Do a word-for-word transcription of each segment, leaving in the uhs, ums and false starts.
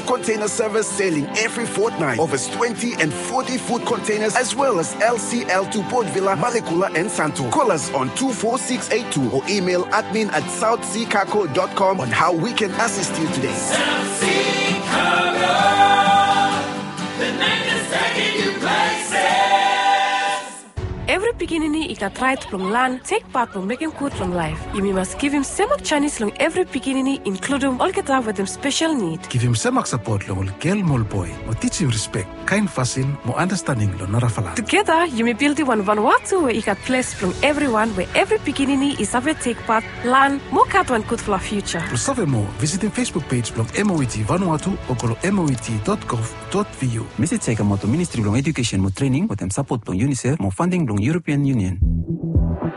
Container service sailing every fortnight. Over twenty and forty foot containers, as well as L C L to Port Vila, Malekula, and Santo. Call us on two four six eight two or email admin at south sea cargo dot com on how we can assist you today. South Sea Cargo, the night is taking you places. Evri pikinini i gat raet blong laen tek pat blong mekem gud long laef. Yumi mas givim semak janis long evri pikinini, inkludum olgeta wetem spesel nid. Givim semak sapot long ol gel mo ol boe, mo tijim rispek, kaen fasin mo anastening long narafala. Tugeta yumi bildim wan Vanuatu we i gat ples blong evriwan, we evri pikinini i save tek pat, laen mo gat wan gudfala fiuja. Blong save moa, visitim Facebook pej blong M O E T Vanuatu o go long M O E T dot gov dot V U. Mesej ya i kamaot long Ministri blong Ejukesen mo Trening wetem sapot blong UNICEF mo fanding blong European Union.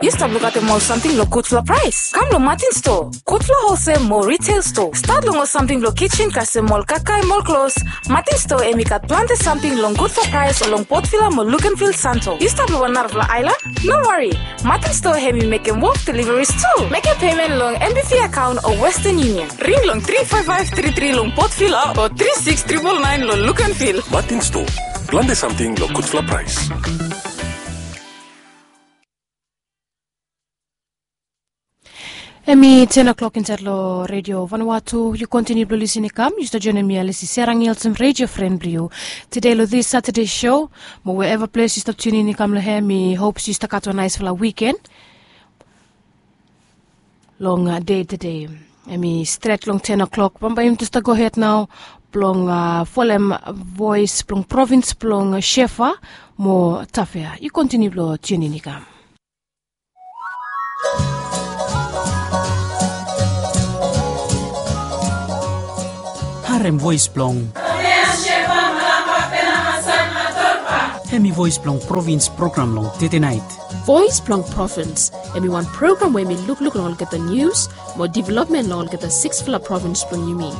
Yu stap lukaotem ol samting long gudfala praes? Kam long Martin Store, gudfala holsel mo retail store. Stat long ol samting blong kijen kasem ol kakae mo ol klos. Martin Store hemi gat plante samting long gudfala praes long Port Vila mo Luganville, Santo. Yu stap long wan narafala aelan? No wari, Martin Store hemi mekem wok deliveries tu. Mekem pemen long M B V akaon o Western Union. Ring long tri faef faef tri tri long Port Vila o tri siks tripol naen long Luganville. Martin Store, plante samting long gudfala praes. Hemi ten o'clock insaed long Redio Vanuatu. Yu kontiniu blong lisin i kam, yu stap joenem mi Alisi Serang Nielsen, redio fren blong yu. Tede long this Saturday show, mo wherever ples yu stap tiunin i kam long hem, mi hop se yu stap gat wan naesfala wiken long dei tede. Hemi stret long ten o'clock. Bambae yumi tu stap gohed nao blong folem voes blong provins blong Shefa mo Tafea. Yu kontiniu blong tiunin i kam. Harem voes blong. Hemi voes blong provins program long tede naet. Voes blong provins, hemi wan program we hemi lukluk long olgeta nius mo developmen long olgeta siksfala provins blong yumi.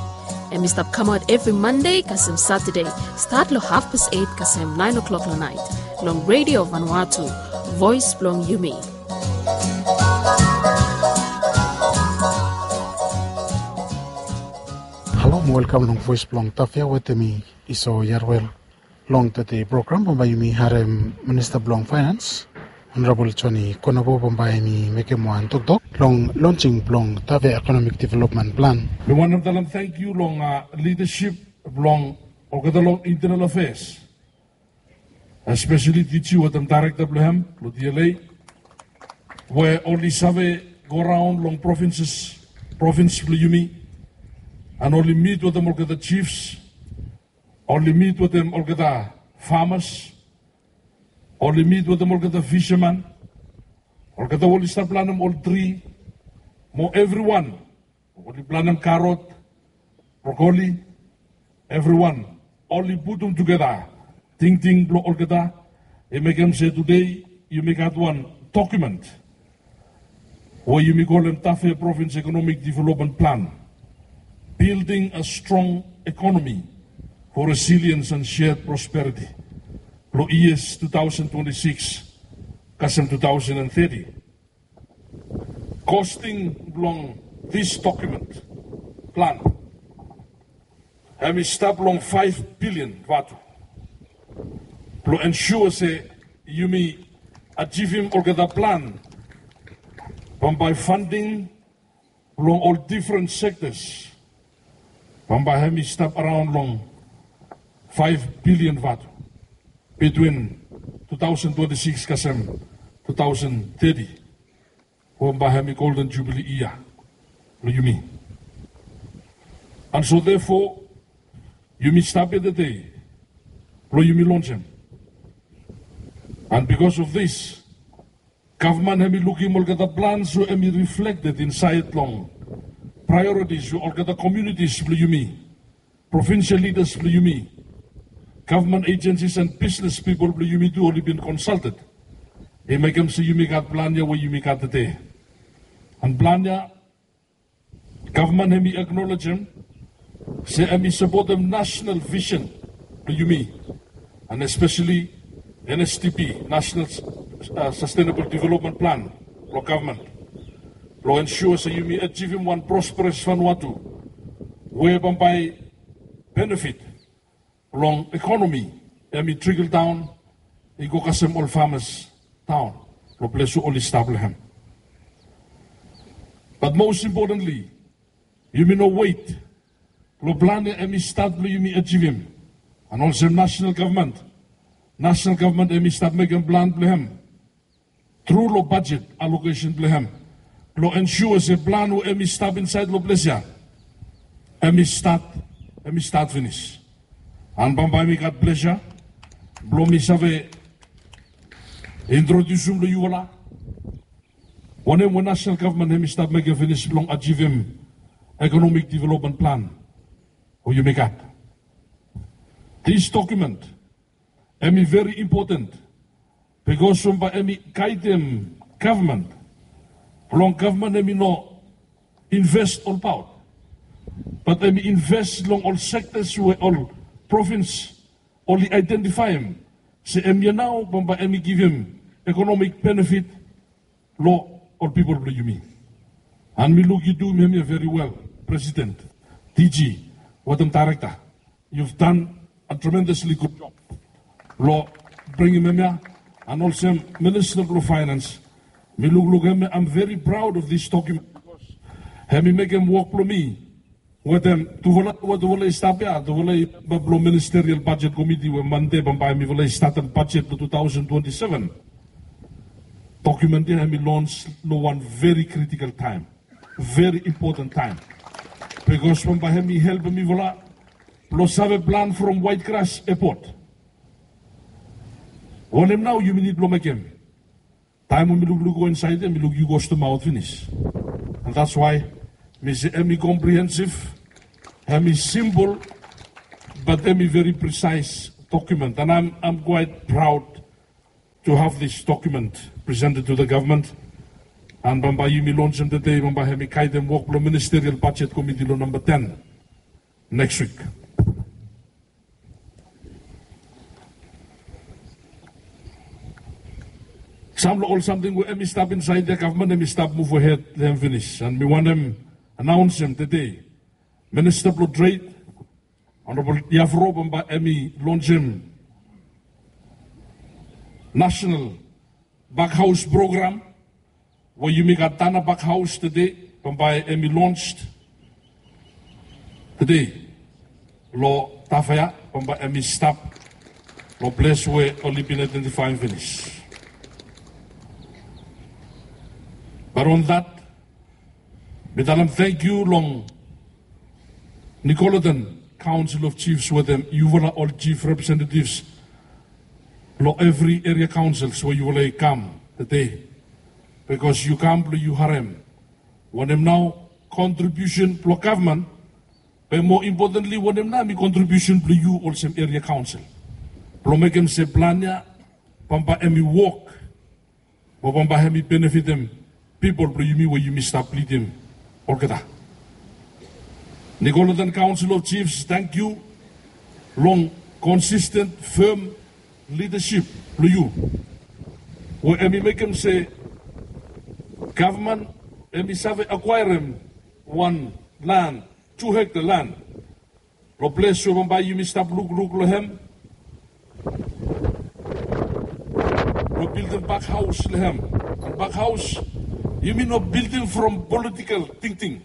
Hemi stap kamaot evri Mande kasem Satade, stat long hafpas eit kasem naen o'clock long naet, long Redio Vanuatu, voes blong yumi. Halo mo welkam long voes blong Tafea wetem mi, Iso Yarwel. Long tede program bambae yumi harem Minista blong Faenans, Honorabol Joni Konabo, bambae hemi mekem wan toktok long lonsing blong Tafea Ekonomik Developmen Plan. Mi wantem talem tangkiu long lidasip blong olgeta long Internal Afeas, espeseli DG wetem daerekta blong hem long DLA, we oli save goraon long provinses, provins blong yumi, an oli mit wetem olgeta jifs, oli mit wetem olgeta famas, oli mit wetem olgeta fisaman, olgeta we oli stap planem ol tri, mo evriwan oli planem karot, brokoli, evriwan oli putum tugeta tingting blong olgeta, i mekem se tede yumi gat wan dokumen we yumi kolem Tafea Provins Ekonomik Developmen Plan, Building a Strong Economy for Resilience and Shared Prosperity, blong yias tu taosen twenti sikis kasem tu taosen teti. Kosting blong this dokumen plan hemi stap long faef bilian vatu blong ensua se yumi ajivim olgeta plan. Bambae fanding blong ol difren sektas bambae hemi stap araon long faef bilian vatu bitwin tu taosen twenti sikis kasem tu taosen teti, we bambae hemi Golden Jubilee yia blong yumi. An so therefore yumi stap ya tede blong yumi lonsem. An bikos of this, gavman hemi lukim olgeta plans we hemi riflekted insaed long praeoritis we olgeta komunitis blong yumi, provinsel lidas blong yumi, gavman ejensis an bisnes pipol blong yumi tu oli bin konsalted, i mekem se yumi gat plan ya we yumi gat tede. An plan ya gavman hemi aknolejem se hemi sapotem nasonal visen blong yumi, an espeseli NSDP, Nasonal Sastenabol Developmen Plan blong gavman, blong ensua se yumi ajivim wan prosperes Vanuatu we bambae benefit long ekonomi, hemi trickle daon i go kasem ol famas daon long ples we oli stap long hem. Bat mos impotenli, yumi no wet long plan ya hemi stat blong yumi ajivim. An olsem nasonal gavman, nasonal gavman hemi stap mekem plan blong hem tru long bajet alokesen blong hem blong ensua se plan we hemi stap insaed long ples ya hemi stat, hemi stat finis. An bambae mi gat plesa blong mi save introdiusim long yufala wanem we nasonal gavman hemi stap mekem finis blong ajivim ekonomik developmen plan we yumi gat. This document hemi veri impoten bikos bambae hemi gaedem gavman blong gavman hemi no inves olbaot, bat hemi inves long ol sektas we ol provins oli aedentifaem se hemia nao bambae hemi givim ekonomik benefit long ol pipol blong yumi. An mi luk yu duim hemia veri wel, Presiden, D G wetem daerekta. You've done a tremendously good job long bringim hemia. An olsem Minista blong Faenans, mi lukluk hemia, I'm very proud of this document bikos hemi mekem wok blong mi wetem tufala we tufala i stap ya, tufala i memba blong Ministerial Bajet Komiti we Mande bambae mifala i statem bajet blong two thousand twenty-seven. Document ya hemi lons long wan veri critical taem, veri impoten taem, bikos bambae hemi helpem mifala blong save plan from White Grass Airport. Wanem nao yumi nid blong mekem? Taem we mi lukluk go insaed ya mi luk yu go stamaot finis. An that's why mi se hemi komprehensif, hemi simpol, bat hemi veri presaes document. An I'm, I'm quite proud to have this document presented to the government. An bambae yumi lonsem tede, bambae hemi gaedem wok blong Ministerial Bajet Komiti long namba ten neks wik. Sam long ol samting we hemi stap insaed ya gavman hemi stap muv ahed long hem finis. An mi wantem anaonsem tede, Minista blong Tred, Honorable Yafro, bambae hemi lonsem nasonal bakhaos program we yumi gat Tanna Bakhaos tede, bambae hemi lons tede long Tafea, bambae hemi stap long ples we oli bin aedentifaem finis. Bat on that, mi talem tangkiu long Nicolaitan Council of Chiefs wetem yufala ol chief representatives long evri eria kaonsils we yufala i kam tede, bikos yu kam blong yu harem wanem nao kontribiusen blong gavman, be moa impotenli wanem nao hemi kontribiusen blong yu olsem eria kaonsil blong mekem se plan ya bambae hemi wok mo bambae hemi benefitem pipol blong yumi we yumi stap lidim olgeta. Nicolaitan Council of Chiefs, tangkiu long konsisten fem lidasip blong yu we hemi mekem se gavman hemi save akwaerem wan lan, tu hekta lan long ples we bambae yumi stap lukluk long hem blong bildim bakhaos long hem. An bakhaos yumi no bildim from politikel tingting.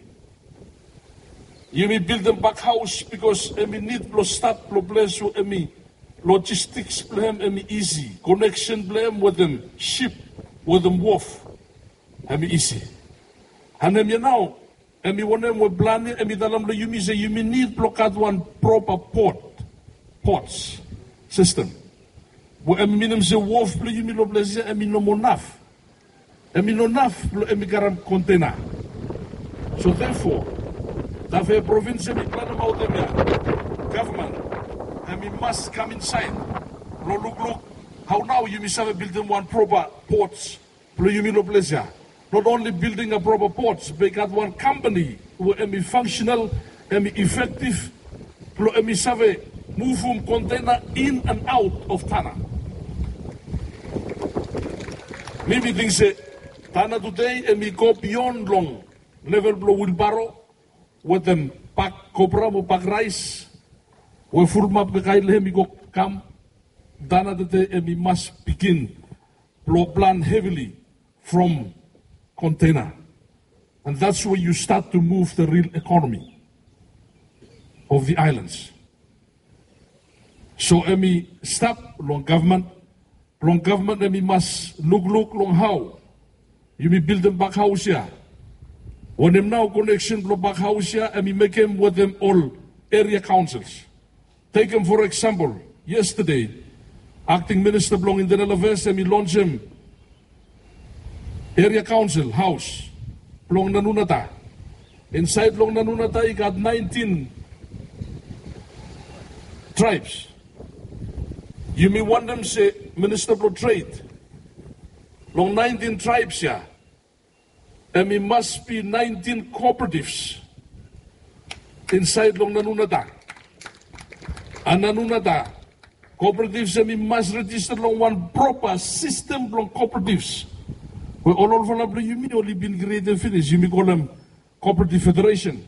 Yumi bildim bakhaos bikos hemi nid blong stap long ples we hemi lojistiks blong hem hemi isi, koneksen blong hem wetem sip, wetem wof, hemi isi. An hemia nao hemi wanem we plan ya hemi talem long yumi se yumi nid blong gat wan propa pot, pots sistem we hemi minim se wof blong yumi long ples ya hemi no moa naf. Hemi no naf blong hemi karem kontena. So therefore, Tafea provins hemi planemaot hemia, gavman hemi mas kam insaed blong lukluk hao nao yumi save bildim wan propa pots blong yumi long ples ya. Not only building a proper ports, be i gat wan kampani we hemi fangsenal, hemi efektif blong hemi save muvum kontena in an aot of Tanna. Mi mi ting se Tanna tede hemi go bion long level blong wilbaro wetem bak kopra mo bak raes. we fulumap kakae long hem i go kam, Tanna tede hem i mas bigin blong plan heavily from container. And that's where you start to move the real economy of the islands. So hem i stap long gavman, blong gavman hem i mas lukluk long hao yumi bildim bakhaos ya. Wanem nao koneksen blong bakhaos ya hem i mekem wetem ol eria kaonsels. Tekem for eksempel, yestade akting minista blong intenel afeas hem i lonsem eria kaonsel haos blong Nanunata. Insaed long Nanunata i gat naentin traebs. Yumi wantem se minista blong tred, long naentin traebs ya hem i mas bi naentin kooperativs insaed long Nanunata. And Nanunata kooperativs hem i mas rejista long wan propa sistem blong kooperativs we ol olfala blong yumi oli bin krietem finis, yumi kolem Kooperativ Federesen.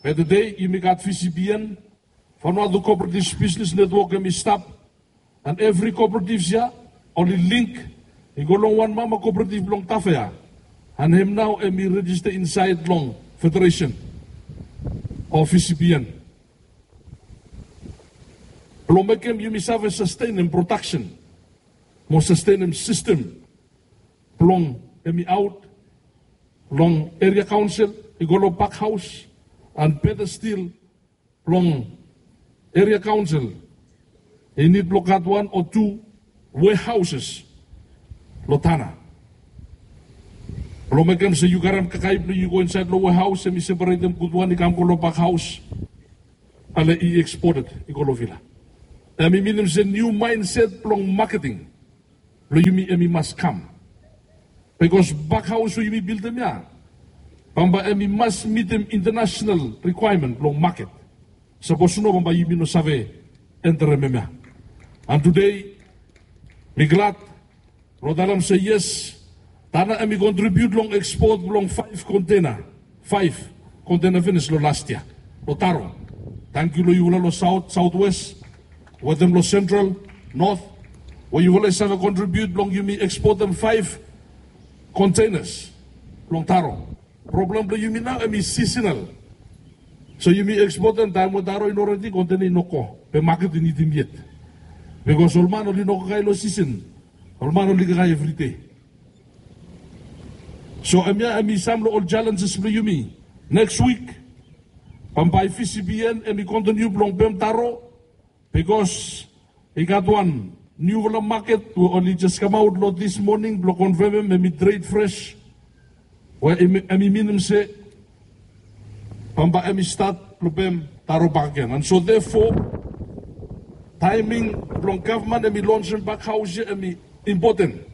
Be tede yumi gat V C B N, Vanuatu Cooperatives Business Network hem i stap. And evri kooperativs ya oli link i go long wan mama kooperativ blong Tafea. And hem nao hem i rejista insaed long federesen o V C B N blong mekem yumi save sastenem prodaksen mo sastenem sistem blong hem i aot long eria kaonsel i go long bakhaos. And beta stil blong eria kaonsel i nid blong gat wan o tu wehaoses long Tanna blong mekem se yu karem kakae blong yu go insaed long wehaos hem i separetem gudwan i kam go long bakhaos. Ale i eksported i go long vila. Hem i minim se niu maenset blong maketing blong yumi hem i mas kam. Bikos bakhaos we yumi bildim ya bambae hem i mas mitim intanasenal rikwaemen blong maket. Sapos no bambae yumi no save enterem hem ya. And tede mi glad blong talem se yes, Tanna hem i kontribiut long ekspot blong faef kontena, faef kontena finis long las yia long Taro. Tangkiu long yufala long saot, saotwes wetem long sentral, not we yufala i save kontribiut blong yumi ekspotem faef kontenas long Taro. Problem blong yumi nao hem i sisenal. So yumi ekspotem taem we Taro i no redi kontena i no go, be maket i nidim yet. Bikos ol man oli no kakae long sisen, ol man oli kakae evride. So hemia hem i sam long ol jalenjes blong yumi. Neks wik bambae V C B N hem i kontiniu blong pem Taro. Bikos i gat wan niufala maket we oli jes kamaot long dis moning blong konfemem hem i tred fres, we hem i minim se bambae hem i stat blong pem Taro bakegen. And so therefore taeming blong gavman hem i lonsem bakhaos ya hem i impoten,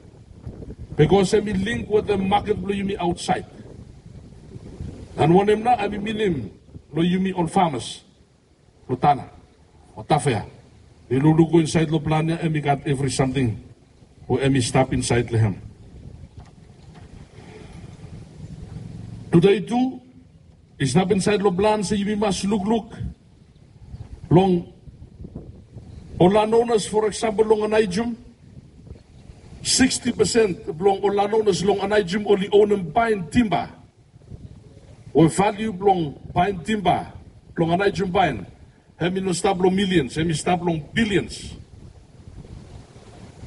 bikos hem i link wetem maket blong yumi aotsaed. And wanem nao hem i minim long yumi ol famas long Tanna o Tafea? Yu lukluk go insaed long plan ya hem i gat evri samting we hem i stap insaed long hem. Tede tu i stap insaed long plan se yumi mas lukluk long ol landonas, for eksempel long Anaijum. Siksti pesen blong ol landonas long Anaijum oli onem paen timba we valiu blong paen timba blong Anaijum paen hem i no stap long milians, hem i stap long bilians.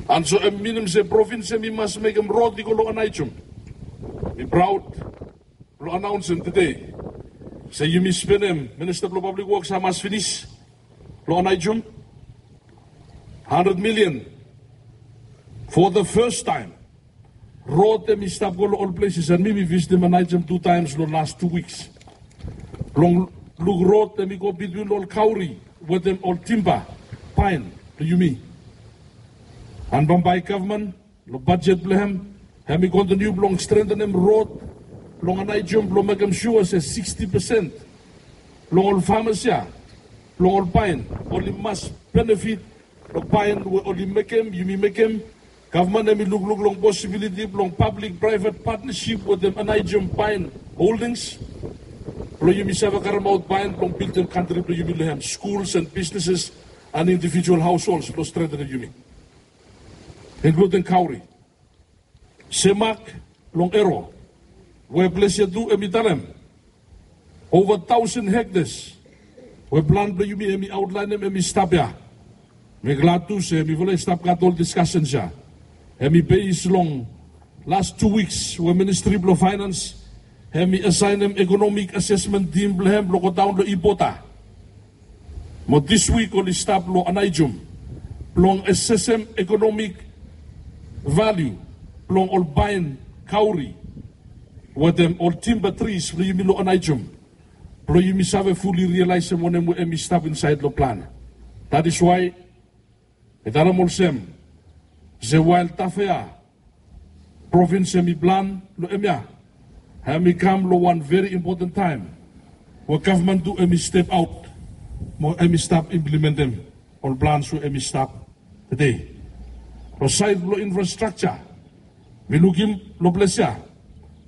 And so hem i minim se provins hem i mas mekem rod i go long Anaijum. Mi praod blong anaonsem tede se yumi spenem, minista blong pablik woks hamas finis long Anaijum handred milian. For the first time rod hem i stap go long ol pleses, and mi mi visitim Anaijum tu taems long las tu wiks blong luk rod hem i go bitwin ol kauri wetem ol timba paen blong yumi. And bambae gavman long bajet blong hem hem i kontiniu blong strentenem rod blong Anaijum blong mekem sua se siksti pesen blong ol famas ya blong ol paen oli mas benefit long paen we oli mekem, yumi mekem. Gavman hem i lukluk long posibiliti blong pablik praevet patnasip wetem Anaijum paen holdings Blong yumi save karemaot baen blong bildim kantri blong yumi long hem, skuls and bisneses and indivijual haosholds blong strengtenem yumi, inkluding Kauri, Semak, long Ero, we ples ya tu hemi talem ova taosen hektas we plan blong yumi hemi aotlaenem hemi stap ya. Mi glad tu se mifala i stap gat ol diskasens ya. Hemi bes long las tu wiks we Ministri blong Faenans hemi asaenem ekonomik asesmen tim blong hem blong godaon long Ibota. Mo dis wik oli stap long Anaijum blong asesem ekonomik valiu blong ol baen kauri wetem ol timba tris blong yumi long Anaijum, blong yumi save fuli rialaesem wanem we hemi stap insaed long plan. That is why mi talem olsem se wael Tafea provins hemi plan long hemia, hemi kam long wan veri impoten taem we gavman tu hemi step aot mo hemi stap implementem ol plans we hemi stap tede. Long saed blong infrastrakja, mi lukim long ples ya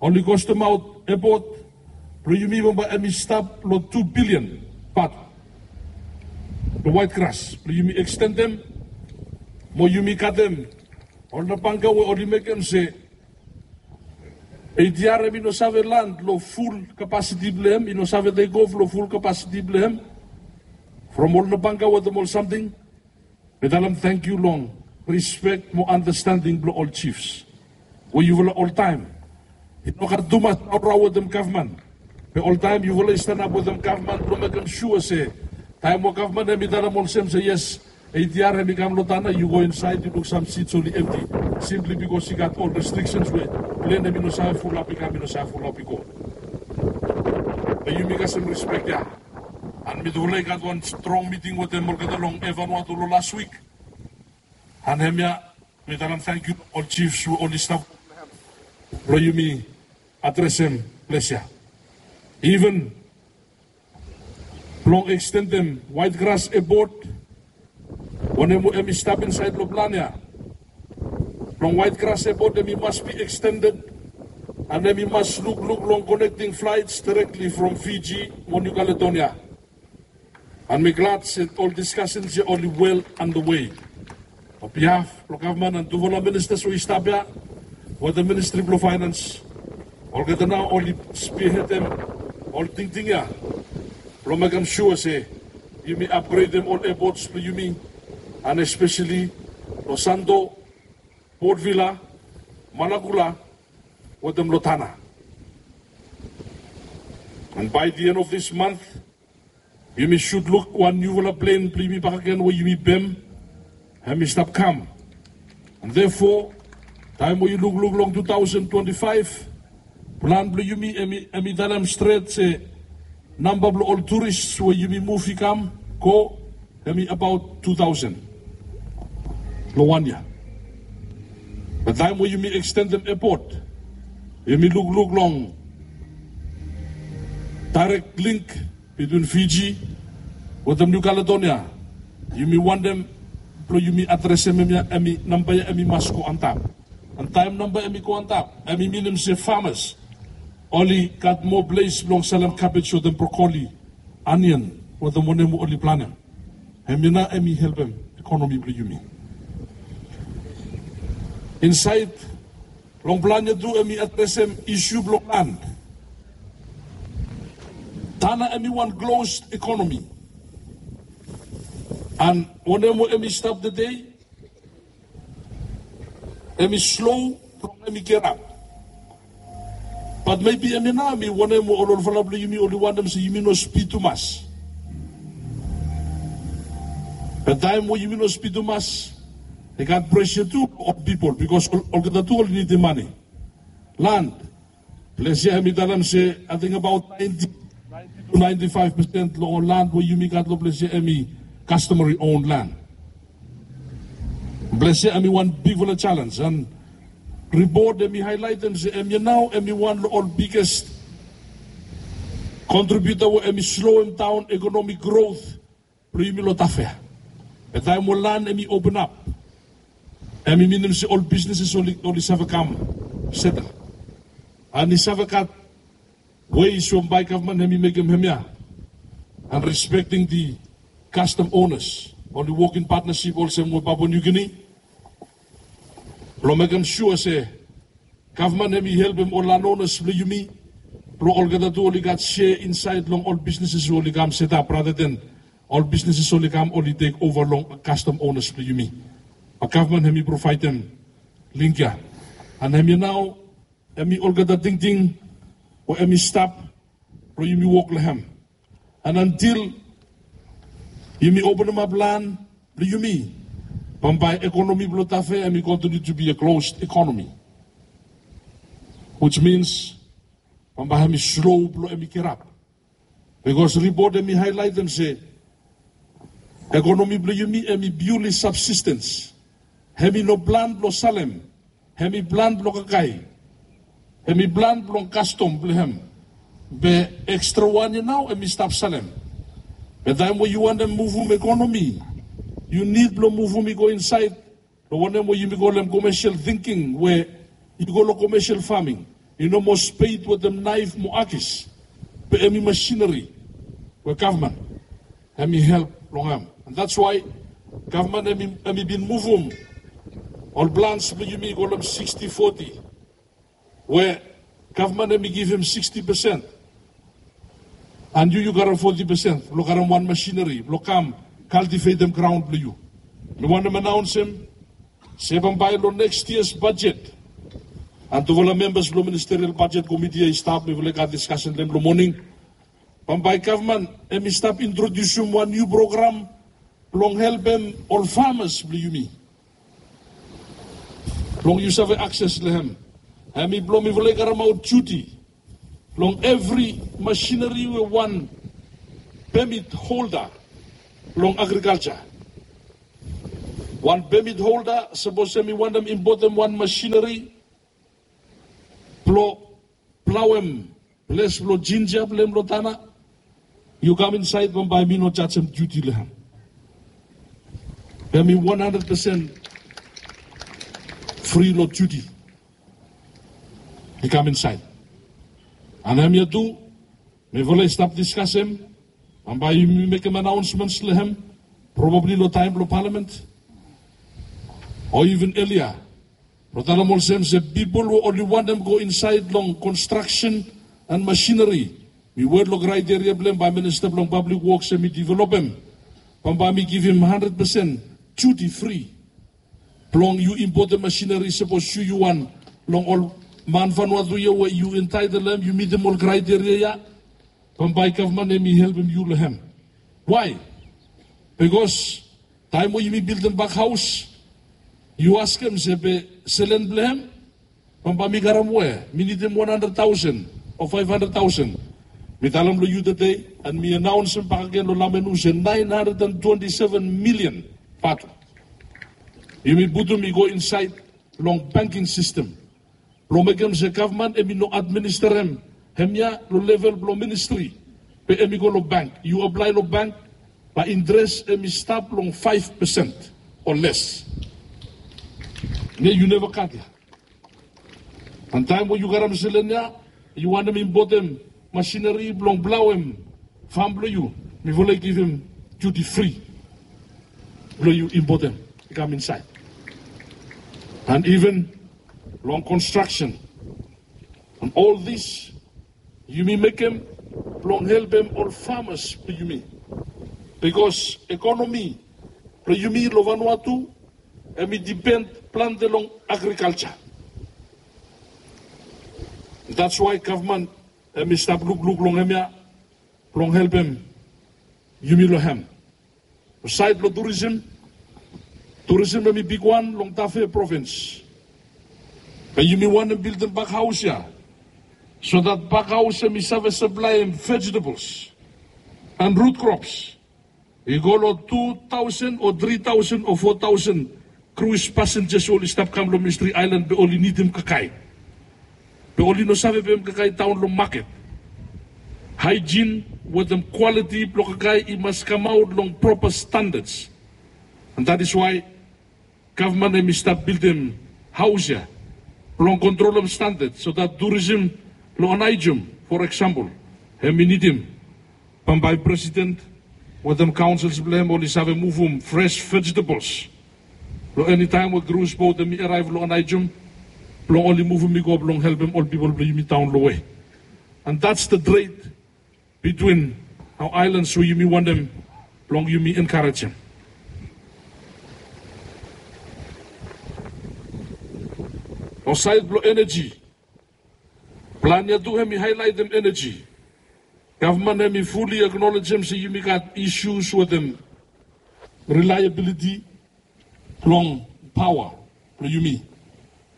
oli kostem aot epot blong yumi bambae hemi stap long tu bilian baht long Waet Gras blong yumi ekstendem mo yumi katem ol nabangka we oli mekem se ATR hemi no save lan long ful kapasiti blong hem, i no save tekof long ful kapasiti blong hem from ol nabangka wetem ol samting. Mi talem tangkiu long rispek mo anastending blong ol jifs we yufala oltaem i no gat tumas raorao wetem gavman. Be oltaem yufala i stanap wetem gavman blong mekem sua se taem we gavman hemi talem olsem se yes, ATR hemi kam long Tanna, yu go insaed yu luk sam sits oli emti, simpli bikos i gat ol restriksens we plen hemi no save fulap i kam, i no save fulap i go. Be yumi kasem rispek ya. And mitufala i gat wan strong miting wetem olgeta long Vanuatu long las wik. And hemia mi talem tangkiu long ol jifs we oli stap blong yumi adresem ples ya. Iven blong ekstendem Waet Gras epot, wanem we hemi stap insaed long plan ya. Blong Waet Gras epot hemi mas bi ekstended and hemi mas lukluk long konekting flaets direktli from Fiji mo Niu Kaledonia. And mi glad se ol diskasens ya oli wel andawei. Long bihaf blong gavman and tufala ministas we i stap ya wetem Ministri blong Faenans, olgeta nao oli spihedem ol tingting ya blong mekem sua se yumi apgredem ol epots blong yumi, and espeseli long Santo, Port Vila, Malakula wetem long Tanna. And by the end of this month yumi sud luk wan niufala plen blong yumi bakegen we yumi bem, hemi stap kam. And therefore taem we yu lukluk long tu taosen twenti faef, plan blong yumi hemi talem stret se namba blong ol turis we yumi muv i kam go hemi abaot tu taosen long wan yia. Be taem we yumi ekstendem epot, yumi lukluk long daerek link bitwin Fiji wetem Niu Kaledonia, yumi wantem blong yumi adresem hemia, hemi namba ya hemi mas go antap. And taem namba ya hemi go antap, hemi minim se famas oli gat moa ples blong salem kabej wetem brokoli, anian wetem wanem we oli planem. Hemia nao hemi helpem ekonomi blong yumi. Insaed long plan ya tu hemi adresem isu blong lan. Tanna hemi wan klos ekonomi. And wanem we hemi stap tede hemi slo blong hemi gerap. Bat mebi hemia nao hemi wanem we ol olfala blong yumi oli wantem se yumi no spid tumas. Be taem we yumi no spid tumas, i gat presa tu long ol pipol bikos olgeta tu oli nidim mane. Lan, ples ya hemi talem se ating abaot naenti tu naenti faef pesen long ol lan we yumi gat long ples ya hemi customary owned lan. Ples ya hemi wan bigfala jalenj, and ripot hemi haelaetem se hemia nao hemi wan long ol biges kontribiuta we hemi sloem daon ekonomik grot blong yumi long Tafea. Be taem we lan hemi openap, hemi minim se ol bisneses oli save kam setel. And i save gat Ways we bambae gavman hemi mekem hemia, and respecting the custom owners, oli wok in partnership olsem we Papua New Guinea. Blong mekem sua se gavman hemi helpem ol landowners blong yumi, blong olgeta tu oli gat share inside long ol businesses we oli kam set up, rather than ol businesses oli kam oli take over long custom owners blong yumi. Be gavman hemi provaedem link ya. And hemia nao hemi olgeta tingting we hemi stap blong yumi wok long hem. And until yumi openemap lan blong yumi, bambae ekonomi blong Tafe hemi continue to be a closed economy, which means bambae hemi slow blong hemi get up. Because ripot hemi highlightem se ekonomi blong yumi hemi purely subsistence. Hemi no plan blong salem. Hemi plan blong kakae. Hemi plan blong kastom blong hem. Be extra wan ya nao hemi stap salem. Be taem we yu wantem muvum ekonomi, yu nid blong muvum i go insaed long wanem we yumi kolem commercial thinking, we yu go long commercial farming, i no moa spade wetem naef mo akis, be hemi machinery we gavman hemi help long hem. And that's why gavman hemi, hemi bin muvum ol plans blong yumi i kolem sixty forty, we gavman hemi givim sixty percent, and yu, yu karem forty percent blong karem wan machinery blong kam cultivatem graon blong yu. Mi wantem anaonsem se bambae long next year's budget, and tufala members blong ministerial budget committee ya i stap, mifala i gat discussion long hem long moning. Bambae gavman hemi stap introdiusim wan niu program blong helpem ol farmers blong yumi, blong yu save access long hem. Hemi blong mifala i karemaot duty long evri machinery we wan permit holder long agriculture. Wan permit holder, sapos hemi wantem impotem wan machinery blong plaoem ples blong jinja blong hem long Tanna, yu kam insaed, bambae mi no jajem duty long hem. Hemi wan handred pesen fri long duty. I kam insaed. And hemia tu mifala i stap diskasem, bambae yumi mekem anaonsments long hem, probably long taem blong palamen o even earlier, blong talem olsem se pipol we oli wantem go insaed long construction and machinery, mi wet long kraeteria blong hem bae minista blong pablik woks hemi developem, bambae mi givim handred pesen duty fri blong yu impotem machinery, sapos yu, yu wan long ol man Vanuatu ya we yu entaetel hem, yu mitim ol kraeteria ya, bambae gavman hemi helpem yu long hem. Why? Bikos taem we yumi bildim bak haos, yu askem se be selen blong hem, bambae mi karem we mi nidim wan handred taosen o faef handred taosen. Mi talem long yu tede, and mi anaonsem bakegen long Lamenu se naen handred and twenti seven milian vatu yumi putum i go insaed long banking sistem blong mekem se gavman hemi no administerem hemia long level blong ministri, be hemi go long bank. Yu aplae long bank, bae interes hemi stap long faef pesen o les. Ne yu neva gat ya. And taem we yu karem selen ya, yu wantem impotem machinery blong plaoem fam blong yu, mifala i givim duty fri blong yu impotem i kam insaed. And even long construction, and all this yumi mekem blong helpem ol farmers blong yumi. Bikos ekonomi blong yumi long Vanuatu hemi depend plante long agriculture. That's why gavman hemi stap lukluk long hemia blong helpem yumi long hem. Saed blong tourism, tourism hemi bigwan long Tafe provins. Be yumi wantem bildim bak haos ya, so that bak haos hemi save saplaem vegetables and root crops i go long tu taosen o tri taosen o fo taosen cruise passengers we oli stap kam long Mystery Island, be oli nidim kakae. Be oli no save pem kakae daon long maket. Hygiene wetem quality blong kakae i mas kamaot long proper standards. And that is why gavman hemi stap bildim haos ya blong kontrolem standard, so that tourism long Anaijum For example, hemi nidim bambae president wetem councils blong hem oli save muvum fresh vegetables long eni taem we cruise boat hemi arrive long Aneityum blong oli muvum i go blong helpem ol pipol blong yumi daon long we. And that's the trade between our islands we yumi wantem blong yumi enkarejem. Long saed blong eneji, plan ya tu hemi haelaetem eneji. Gavman hemi fully acknowledgem se yumi gat issues wetem reliability blong paoa blong yumi.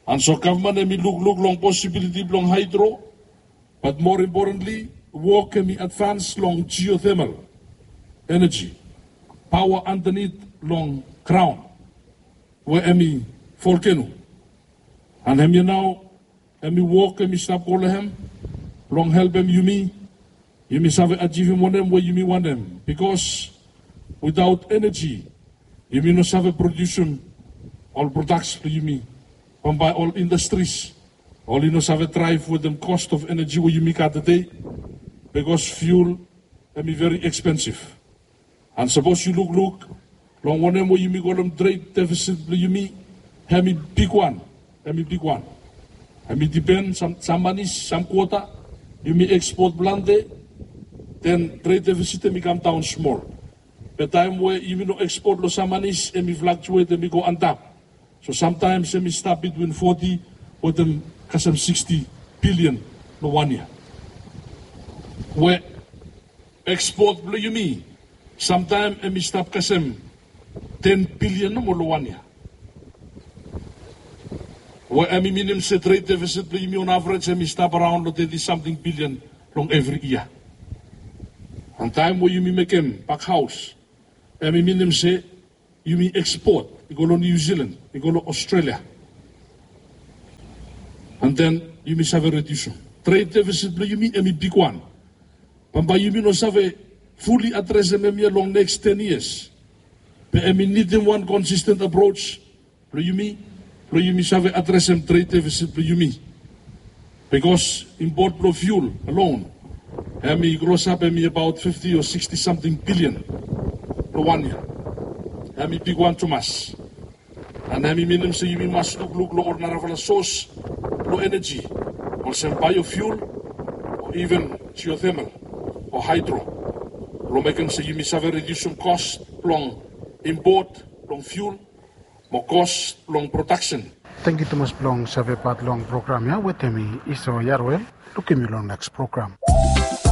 And so gavman hemi lukluk long possibility blong hydro, but more importantly, wok hemi advance long geothermal energy, paoa andanit long graon we hemi volcano. And hemia nao hemi wok hemi stap go long hem blong helpem yumi, yumi save ajivim wanem we yumi wantem. Bikos witaot eneji, yumi no save produsim ol prodaks blong yumi. Bambae ol indastris oli no save draev wetem cost of energy we yumi gat tede, bikos fuel hemi very expensive. And sapos yu lukluk long wanem we yumi kolem trade deficit blong yumi, hemi bigwan, hemi bigwan. Hemi dipen, sam, sam manis, sam kwota yumi ekspot plante, den trade deficit hemi kamdaon smol. Be taem we yumi no ekspot long sam manis, hemi fluctuate, hemi go antap. So samtaems hemi stap bitwin foti wetem kasem siksti bilian long wan yia. We ekspot blong yumi samtaem hemi stap kasem ten bilian nomo long wan yia. We hemi minim se trade deficit blong yumi on average hemi stap araon long teti samting bilian long evri yia. And taem we yumi mekem bakhaos, hemi minim se yumi ekspot i go long New Zealand, i go long Australia. And then yumi save rediusim. Trade deficit blong yumi hemi bigwan. Bambae yumi no save fully adresem hemia long neks ten yias. Be hemi nidim wan consistent approach blong yumi, blong yumi save adresem trade deficit blong yumi. Bikos impot blong fuel alone hemi klosap hemi abaot fifti o siksti samting bilian long wan yia. Hemi bigwan tumas. And hemi minim se yumi mas lukluk long ol narafala sos blong eneji, olsem biofuel o even geothermal o hydro, blong mekem se yumi save rediusim kos blong impot blong fuel mo kos blong prodaksen. Tangkiu tumas blong save pat long program ya wetem mi, Iso Yaruel. Lukim yu long neks program.